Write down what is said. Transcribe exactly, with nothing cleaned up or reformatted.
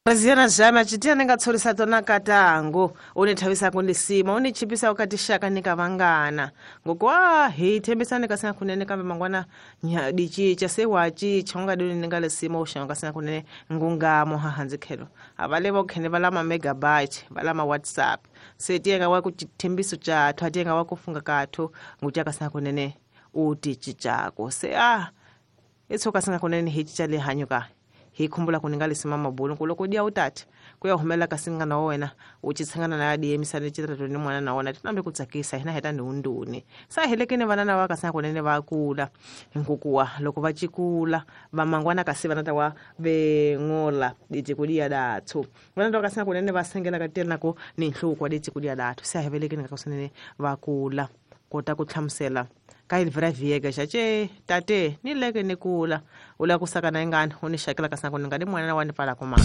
Presidente Jama chitia ninga tshorisa tona katango u ni thavisako lisima u ni chipisako ka tixaka ni ka vanghana ngokwa hi thembisani ka sina kunene kambe mangwana di cinca se wa cinca u nga di ni nga lisima u xava ka sina kunene ngungamo hahandzi khelo a va le vo khene va lama megabyte va lama WhatsApp se tiyenga wa ku thembiso cathu a tiyenga wa ku funga kathu nguca ka sina kunene u ti cincako se a i tshuka sina kunene hi cinca le hanyo ka hi khumbula ku ni nga lisima mabulu ku loko dia utati ku ya humela ka singana wa wena u chitshangana na di emisana chitatu ni mwana na wona tinambe ku tsakisa hina heta ni unduni sa helekeni vana na va ka sina kunene va kula nkukuwa loko va chikula va mangwana kasi vana ta wa vengola ditikulia dathu vana ta ka sina kunene va sengela ka tena ku ni nhluko wa ditikulia dathu sa helekeni ka sinene va kula kota ku hlamusela ka ilivra viega xace tate ni leke ni kula u la ku saka na ingani u ni xakela ka sina ku ni nga di mwana wa ni pfala ku mani.